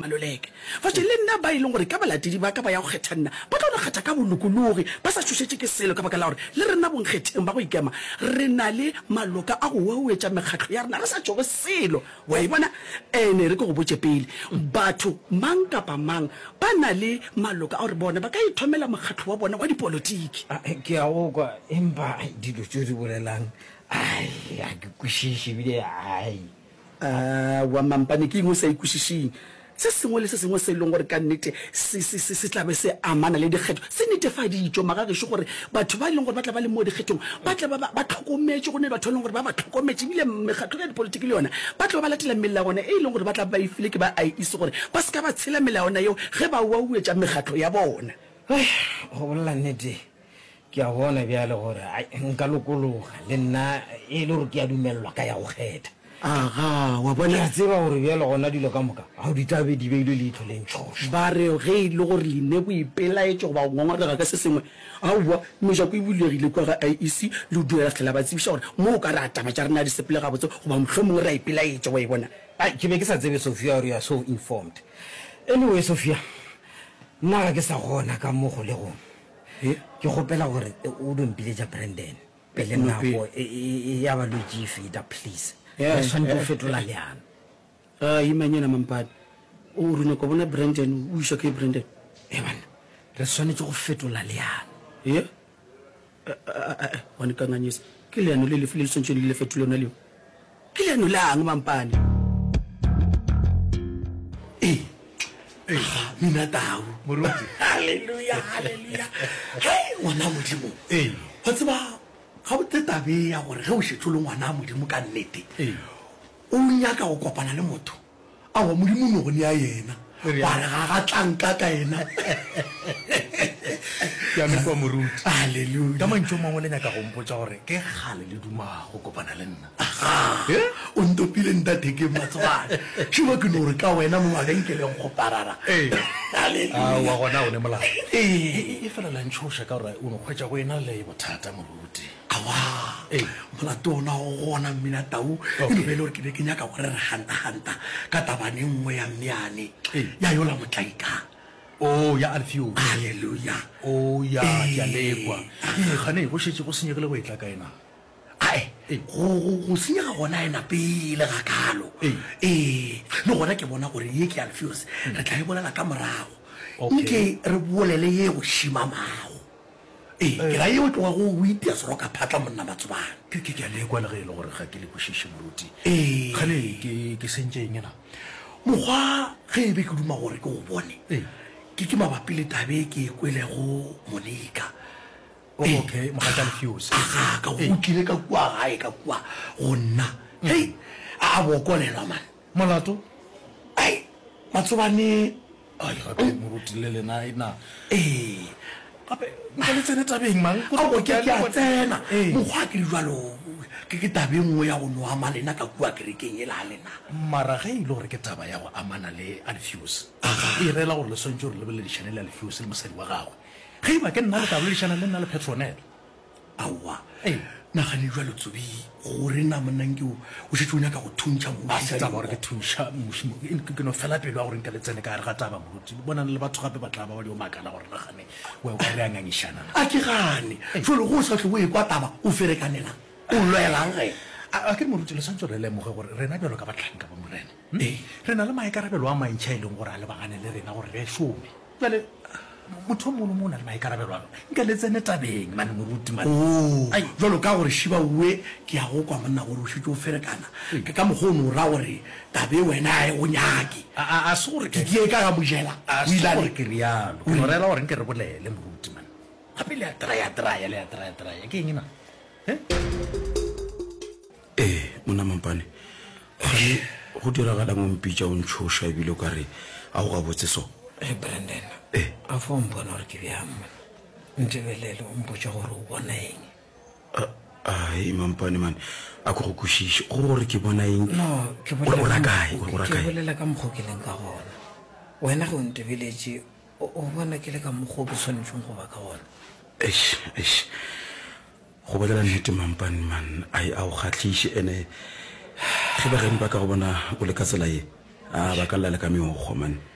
Maluleke. Fatše le nna ba e leng gore ka balatedi ba ka ba ya go kgetha nna, ba tlo no kgetha ka bolokologi, ba sa tšhošetše ke selo, ka baka la gore le rena bonkgetheng ba go ikema re na le maloka a go wewetša mekgatlo ya rena re sa tšhoge selo. Wa e bona? Ene re ke go botše pele, batho mang kapa mang ba na le maloka a gore bona ba ka ithomela mokgatlo wa bona wa dipolotiki. Ke a go kwa, empa dilo tše o di bolelang, ai, ga ke kwešiše ebile ai. Aowa, mampane, ke eng o sa e kwešišeng? Se sengwe le se sengwe se e leng gore ka nnete se, se, se, se tla be se amana le dikgetho, se netefaditšwe, magagešo, gore batho ba e leng gore ba tla ba le mo dikgethong ba tla ba ba, ba hlokometšwe, go ne batho ba e leng gore ba ba hlokometše, ebile mekgatlo ya dipolotiki le yona ba tla ba ba latela melawana e e leng gore ba tla ba ba e file ke ba IEC gore ba se ka ba tshela melawana yeo ge ba wauetša mekgatlo ya bona. Hei, go bolela nnete, Ke a bona bjale gore ai, nka lokologa le nna e le gore ke a dumelelwa ka ya go kgetha. Aga, wa bona? Ke a tseba gore bjale gona dilo ka moka ao di tla be di beilwe leihlo le ntšhošo. Ba re ge e le gore le ne boipelaetšo goba go ngongorega ka se sengwe, aowa, mejako e bulegile kua ga IEC, le dula la fihla la ba tsebiša gore mo o ka re a taba tša rena ga di sepele gabotse goba mohlomongwe re a ipelaetša, wa e bona? Ai, ke be ke sa tsebe Sophia gore you are so informed. Anyway, Sophia, nna ga ke sa gona ka mo kgolegong. Ke kgopela gore o do mpiletša Brandon pele nako ya balwetši e feta, please. Re swanetše go fetola leano. A imanyana Mampane. O re nyaka go bona Brandon, o išwa ke Brandon. Ee banna, re swanetše go fetola leano. Ye? A-a-a, wa nkanganyisa. Ke leano le lefe le le swanetšego le le fetole lona leo? Ke leano lang, Mampane? Ee, aga, mina tau. Moruti. Haleluya, haleluya. Hei, ngwana Modimo. Ee. Wa tseba, gabotse tabe ya gore ge o šetše o le ngwana Modimo ka nnete, Ee. o nyaka go kopana le motho, Aowa, Modimo o no go nea yena. Wa re ga ga tla nka ka yena. Ke a le kwa moruti. Haleluya. Ka mantšu a mangwe le nyaka go mpotša gore ke kgale le duma go kopana le nna. Aga, o ntopile ntathekeng matsobane. Šeba ke no re ka wena mo mabenkeleng go parara. Ee. Haleluya. Aowa gona o ne molato. Ee. Efela la ntšhoša ka gore o no hwetša go ena le bothata moruti. Aowa, molato ona o gona Mmina Tau, e no be e le gore ke be ke nyaka gore re hanta-hanta ka tabane e nngwe ya mmeane ya yola motlaika. Oh, ya Alfios. Haleluya. Oh, ya, ke a lekwa. Ee, kgane go šetše go senyegile go etla kae na? Ae, go, go, go senyega gona e napile gakaalo. Ee, le gona ke bona gore ye ke Alfios, re tla e bolela ka morago. Nke re bolele ye go šimamago. Ee, ke ra ye o tlogago o itia seroka phatla monna Matsobane. Ke, ke, ke a lekwa le ge e le gore ga ke le kwešiše, moruti. Ee. Kgale ke, ke sentše eng na? Mokgwa ge e be ke duma gore ke go bone, Ee. ke, ke mabapi le tabe e ke e kwelego Monica. Oh, okay, mogatša Alfios. Aga, ka go tlile ka kua gae ka kua go nna. Hei, a, a bokolelwa man. Molato? Ai, Matsobane. Ai, gape moruti le lena e na. Ee. Gape nka le tsene tabeng mang? Ao, ke, ke a tsena. Mokgwa ke le jwalo, ke, ke taba e nngwe ya go no ama lena ka kua kerekeng yela ya lena. Mara ge e le gore ke taba ya go amana le Alfios, Aga. e rela gore le swanetše gore le boledišane le Alfios le mosadi wa gagwe. Ge e ba ke nna le tla boledišana le nna le Petronella. Aowa. Nagane bjalo Tsobi, gore na monna nke o, o šetše o nyaka go thuntšha A muši se ka taba gore ke dinko. thuntšha muši mo, ke, ke no fela pelo ya gore nka le tsene ka gare ga taba, moruti. Bonang le batho gape ba tla ba ba dio makala gore nagane we o ka re a ngangišana na. A ke gane. Jwale ge o sa hlwe o ekwa taba, o ferekanelang? O lwelang ge? A, a ke re moruti, le swanetše gore le lemoge gore rena bjalo ka bahlanka ba Morena, hm, re na le maikarabelo a mantši a e leng gore a lebagane le rena gore re šome. Bjale, motho o mongwe le mongwe o na le maikarabelo a gagwe. Nka le tsene tabeng, man, moruti, man. Oo, Ai. bjalo ka gore šiba owe, ke a go kwa, monna, gore o šetše o ferekana. Ke ka mokgwa o no ra gore taba e wena ga e go nyake. A, a, a se gore Ke ke. ke ka ga mojela, A o se ile a gore re. ke realo. Ke no rela gore nke re bolele, moruti, man. Gape le a traya-traya, le a traya-traya. Ke eng na? He? Ee, monna Mampane, kgane go diragalang o mpitša o ntšhoša ebile o ka re a go gabotse so? Ee, Brandon, Ee. a fa o mpona gore ke bjang monna? Ntebelele o mpotše gore o bona eng. Ai, Mampane man, a ko go kwešiše go gore ke bona eng. No, ke O bolela ra ka kae? O ra ke kae? bolela ka mokgwa o ke leng ka gona. Wena ge o ntebeletše, o o bona ke le ka mokgwa o ke swanetšeng go ba ka gona. Eish, eish. Go bolela nnete Mampane man, ai a o kgahliše ene ge bageno ba ka go bona o le ka tsela ye, a ba ka lla le ka meokgo man.